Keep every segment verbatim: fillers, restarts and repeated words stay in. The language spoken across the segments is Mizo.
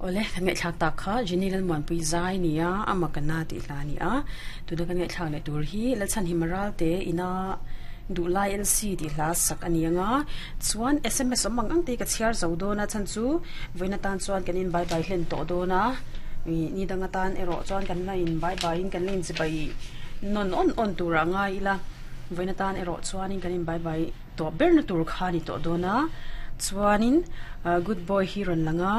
Ole kan ngai thlak tak kha Jenny Lal Muan Pui zai nia ama kana ti hla ni a tuna kan ngai thlak le tur hi la chan himaral te ina du lai L C ti hla sak ani anga chuan S M S omang ang te ka chiar zo dona chan chu voina tan chuan kanin bye bye hlen to dona mi ni danga tan ero chuan kan la in bye bye in kan lin chi bai non on on tur anga ila voina tan ero chuanin kanin bye bye to ber na tur kha ni to dona chuanin good boy hi ron langa.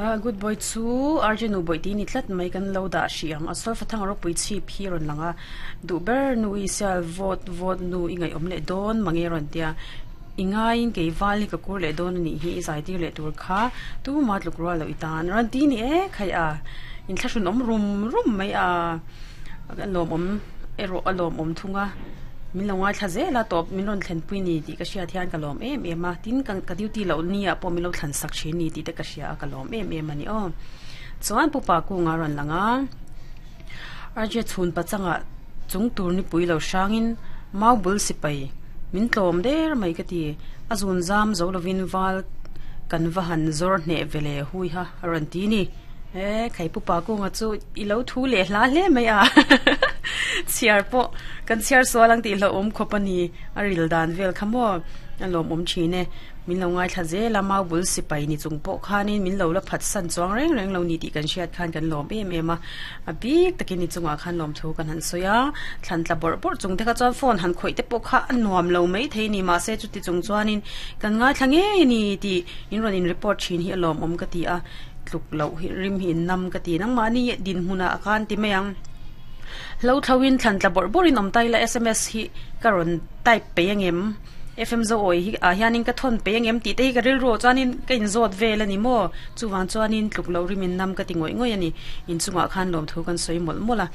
Uh, good boy chu arjunu boy ti ni tlat mai kan lo da shi ang asol fathang ro pui chi phi ron langa du ber nu i sal vote vote nu ingai om le don mange ron tia ingai in ke wali ka kur le don ni hi zai ti le tur kha tu ma tluk ro lo itan ron ti ni e khai a in thlasun om rum rum mai a kan lom om ero alom om thunga min lo ngai thla zela top min ron thlen pui ni ti ka sia thian ka lom em em a tin kan ka duty lo ni a pawh min lo thlan sak thin ni ti te ka sia ka lom em em ani aw chuan pupa ku nga ron langa arje chhun pachanga chung tur ni pui lo hrangin mau bul sipai min tlawm der mai ka ti azun zam zo lovin wal kan vahan zor hne vele hui ha ron ti ni e khai pupa ku nga chu i lo thu le hla hle mai a chiar po kan chiar so lang ti lo om khopani aril dan vel khamo lom om thine min lo ngai thla ze la mau bul sipai ni chung po khanin min lo la phat san chuang reng reng lo ni ti kan hriat khan kan lom em em a a bik takin ni chunga khan lom thu kan han soya thlan tla bor bor chung te kha chuan phone han khoi te po kha an nuam lo mai thei ni ma se chu ti chung chuanin kan ngai thla nge ni ti in ron in report thin hi lom om ka ti a tluk lo hi rim hi nam ka ti nang ma ni din hmuna khan ti mayang lo thawin thlan tla bor borin om tai la S M S hi karon type pe angem F M zo oi hi a hianin ka thon pe angem ti te hi ka ril ro chuanin ka in zot vel ani mo chuwang chuanin tluk lo rimin nam ka ti ngoi ngoi ani in chunga khan lom thu kan soi mol mola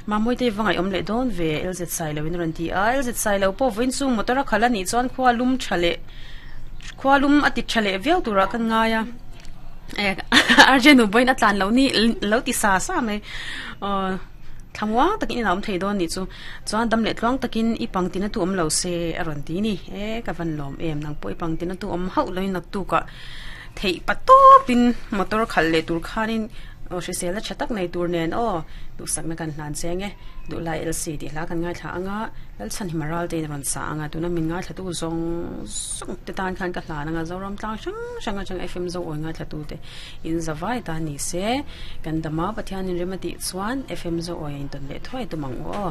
ma moi te wangai om le don ve L Z sai lo in ron ti a L Z sai lo po vin chu motora khala ni chuan khwa lum thale khwa lum ati thale vel tura kan ngaya e arjenu boin atlan lo ni lo ti sa sa mai thamwa takin in am thei don ni chu chuan dam le tluang takin i pangtina tu om lo se aron ti ni e ka van lom em nang poi pangtina tu om hau loi nak tu ka thei pato pin motor khal le tur khanin o shi sela chatak nei tur nen o du sak na kan hlan chenge du lai L C ti hla kan ngai thla anga lal chan himaral te ron sa anga tuna min ngai thla tu zong song te tan khan ka hla anga zoram tlang sang sanga chang F M zo oi ngai thla tu te in zawai ta ni se kan dama pathian in remati chuan F M zo oi in ton le thoi tu mang o.